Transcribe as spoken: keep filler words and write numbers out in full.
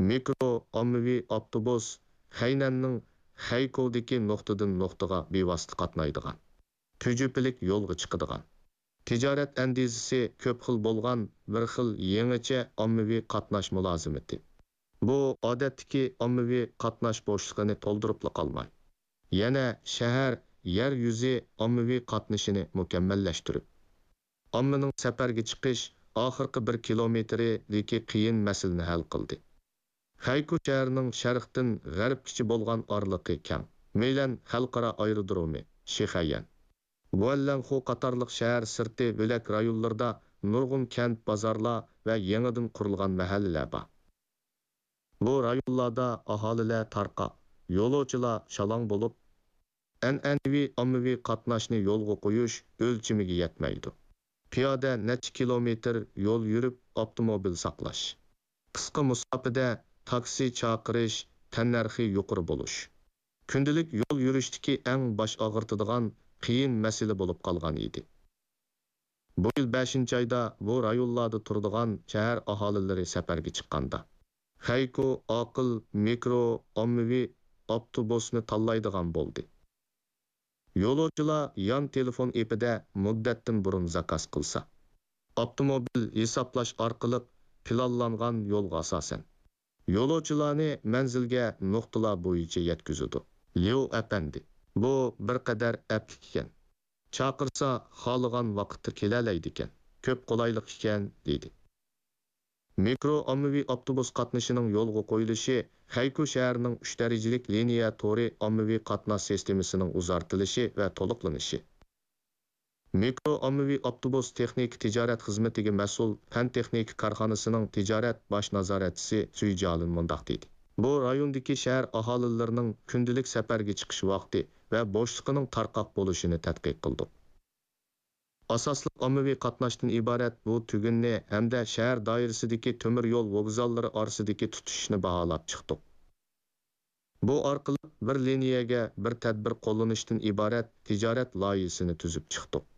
مىكرو ئاممىۋى ئاپتوبۇس خەينەننىڭ خەيكودىكى نۇقتىدىن نۇقتىغا بىۋاسىتە قاتنايدىغان، تۈجۈپىلىك يولغا چىقىدىغان، تىجارەت ئەندىزىسى كۆپ خىل بولغان بىر خىل يېڭىچە ئاممىۋى قاتناش مۇلازىمىتى. بۇ ئادەتتىكى ئاممىۋى قاتناش بوشلۇقىنى تولدۇرۇپلا قالماي، يەنە شەھەر، يەر يۈزى ئاممىۋى قاتنىشىنى مۇكەممەللەشتۈرۈپ، ئاممىنىڭ سەپەرگە چىقىش ئاخىرقى بىر كىلومېتىرىدىكى قىيىن مەسىلىنى ھەل قىلدى. خەيكۇ شەھىرىنىڭ شەرقتىن غەربكىچە بولغان ئارىلىقى كەڭ، مەيلەن خەلقئارا ئايرودرومى، شىخەييەن، گۇەنلەنخۇ قاتارلىق شەھەر سىرتى بۆلەك رايونلىرىدا نۇرغۇن كەنت، بازارلار ۋە يېڭىدىن قۇرۇلغان مەھەللىلەر بار. بۇ رايونلاردا ئاھالىلەر تارقاق، يولۇچىلار شالاڭ بولۇپ، ئەنئەنىۋى ئاممىۋى قاتناشنى يولغا قويۇش ئۆلچىمىگە يەتمەيدۇ. پىيادە نەچچە كىلومېتىر يول يۈرۈپ ئاپتوموبىل ساقلاش، قىسقا مۇساپىدە تاكسى چاقىرىش تەننەرخى يۇقىرى بولۇش، كۈندىلىك يول يۈرۈشتىكى ئەڭ باش ئاغرىتىدىغان قىيىن مەسىلە بولۇپ قالغان ئىدى. بۇ يىل بەشىنچى ئايدا بۇ رايونلاردا تۇرىدىغان شەھەر ئاھالىلىرى سەپەرگە چىققاندا، خەيكۇ ئاقىل مىكرو ئاممىۋى ئاپتوبۇسنى تاللايدىغان بولدى. يولۇچىلار يان تېلېفون ئېپىدە مۇددەتتىن بۇرۇن زاكاز قىلسا، ئاپتوموبىل ھېسابلاش ئارقىلىق پىلانلانغان يولغا ئاساسەن، يولۇچىلارنى مەنزىلگە نۇقتىلار بويىچە يەتكۈزىدۇ. ليۇ ئەپەندى، بۇ بىر قەدەر ئەپلىككەن. چاقىرسا خالىغان ۋاقىتتا كېلەلەيدىكەن. كۆپ قولايلىق ئىكەن، دېدى. مىكرو ئاممىۋى ئاپتوبۇس قاتنىشىنىڭ يولغا قويۇلۇشى خەيكۇ شەھىرىنىڭ ئۈچ دەرىجىلىك لىنىيە تورى ئاممىۋى قاتناش سىستېمىسىنىڭ ئۇزارتىلىشى ۋە تولۇقلىنىشى. مىكرو ئاممىۋى ئاپتوبۇس تېخنىكا تىجارەت خىزمىتىگە مەسئۇل پەن تېخنىكا كارخانىسىنىڭ تىجارەت باش نازارەتچىسى سۈي جيالىن مۇنداق دېدى: بۇ رايوندىكى شەھەر ئاھالىلىرىنىڭ كۈندىلىك سەپەرگە چىقىش ۋاقتى ۋە بوشلۇقىنىڭ تارقاق بولۇشىنى تەتقىق قىلدۇق. ئاساسلىق ئاممىۋى قاتناشتىن ئىبارەت بۇ تۈگۈننى ھەمدە شەھەر دائىرىسىدىكى تۆمۈر يول ۋوگزاللىرى ئارىسىدىكى تۇتىشىشنى باھالاپ چىقتۇق. بۇ ئارقىلىق بىر لىنىيەگە بىر تەدبىر قوللىنىشتىن ئىبارەت تىجارەت لايىھىسىنى تۈزۈپ چىقتۇق.